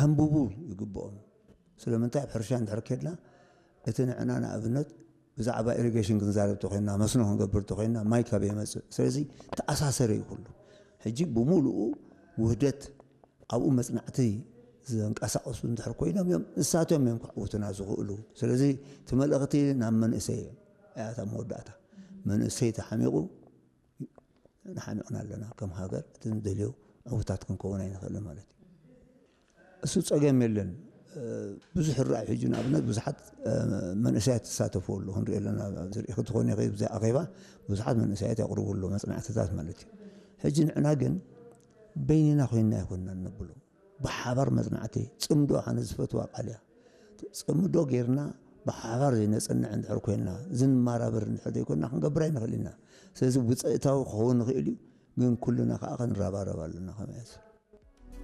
ከንብቡ ይግብኦም። ስለምንታይ ኣብ ሕርሻ እንድሕር ከድና እቲ ንዕና ንኣብነት ብዛዕባ ኢሪጌሽን ክንዛረብ ተኮይና፣ መስኖ ክንገብር ተኮይና፣ ማይ ካብ የመፅእ። ስለዚ ተኣሳሰረ እዩ ኩሉ። ሕጂ ብምሉኡ ውህደት ኣብኡ መፅናዕቲ ዘንቀሳቀሱ እንድሕር ኮይኖም እዮም፣ ንሳቶም እዮም ክዕውቱና ዝኽእሉ። ስለዚ እቲ መልእኽቲ ናብ መንእሰይ እያ እታ መወዳእታ። መንእሰይ ተሓሚቑ ንሓሚቕና ኣለና ከም ሃገር፣ እቲ ንደልዮ ዕውታት ክንከውን ኣይንኽእልን ማለት እዩ። እሱ ጸገም የለን። ብዙሕ ራእይ ሕጂ ንኣብነት ብዙሓት መንእሰያት ትሳተፉ ኣለዉ ክንሪኦ ኣለና። ዝርኢ ክትኾን ይኽእል ብዚ ኣኼባ ብዙሓት መንእሰያት ያቕርቡ ኣለዉ መጽናዕትታት ማለት እዩ። ሕጂ ንዕና ግን በይንና ኮይንና ኣይኮንና ነብሎም። ብሓባር መጽናዕቲ ጽምዶ ኣነ ዝፈትዋ ቃል እያ። ጽምዶ ጌርና ብሓባር ዘይነጽንዕ እንድሕር ኮይንና ዝንማራበር እንድሕር ዘይኮንና ክንገብር ኣይንኽእል ኢና። ስለዚ ውፅኢታዊ ክኸውን ንኽእል እዩ፣ ግን ኩልና ከዓ ክንረባረብ ኣለና ከመያዝ